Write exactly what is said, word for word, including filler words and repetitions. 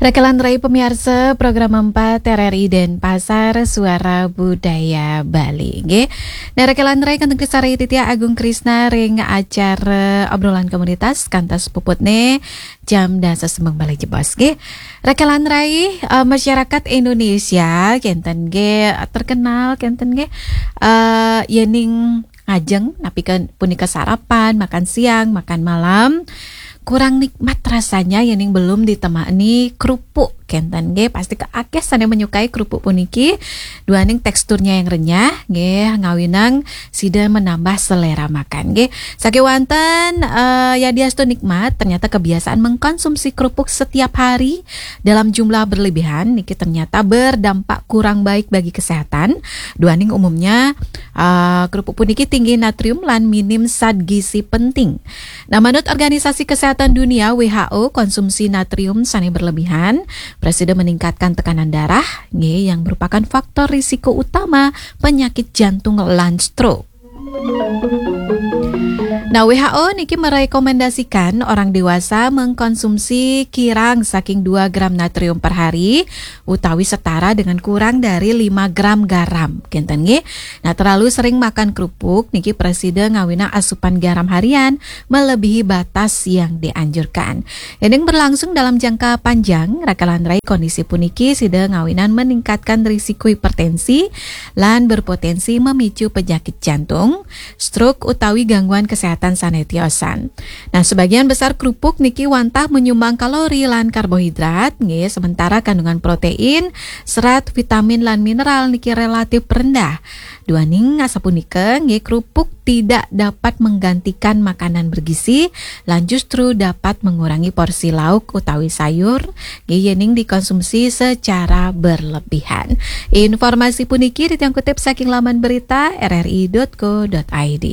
Rekelan rai pemiarsa program empat R R I Denpasar, Suara Budaya Bali. Nggih. Nah, rekelan rai kantun kesare titia Agung Krisna ring acara obrolan komunitas kantos puputne jam dasa sembeng bali jebos, nggih. Rekelan rai, eh, masyarakat Indonesia kenten nggih terkenal kenten nggih, eh, yening ngajeng napi ke punika sarapan, makan siang, makan malam, kurang nikmat rasanya yening belum ditemani kerupuk kenten nggih. Pasti ke akeh sane menyukai kerupuk puniki, duaning teksturnya yang renyah nggih, ngawinang sida menambah selera makan nggih. Sakewanten, eh, yadiastu nikmat, ternyata kebiasaan mengkonsumsi kerupuk setiap hari dalam jumlah berlebihan niki ternyata berdampak kurang baik bagi kesehatan. Duaning umumnya, eh, kerupuk puniki tinggi natrium lan minim zat gizi penting. Nah, manut Organisasi Kesehatan Dunia, W H O, konsumsi natrium sane berlebihan prasida meningkatkan tekanan darah, nggih, yang merupakan faktor risiko utama penyakit jantung lan stroke. Nah, W H O niki merekomendasikan orang dewasa mengkonsumsi kirang saking dua gram natrium per hari utawi setara dengan kurang dari lima gram garam. Kenten nggih. Nah, terlalu sering makan kerupuk niki prasida ngawinang asupan garam harian melebihi batas yang dianjurkan. Yening berlangsung dalam jangka panjang, rekelan rai kondisi puniki sida ngawinan meningkatkan risiko hipertensi lan berpotensi memicu penyakit jantung, stroke utawi gangguan kesehatan sane tiosan. Nah, sebagian besar kerupuk niki wantah menyumbang kalori lan karbohidrat, nggih, sementara kandungan protein, serat, vitamin lan mineral niki relatif rendah. Duaning asapunika, nggih, kerupuk tidak dapat menggantikan makanan bergizi, lan justru dapat mengurangi porsi lauk utawi sayur, nggih, yening dikonsumsi secara berlebihan. Informasi puniki titiang kutip saking laman berita R R I dot co dot I D.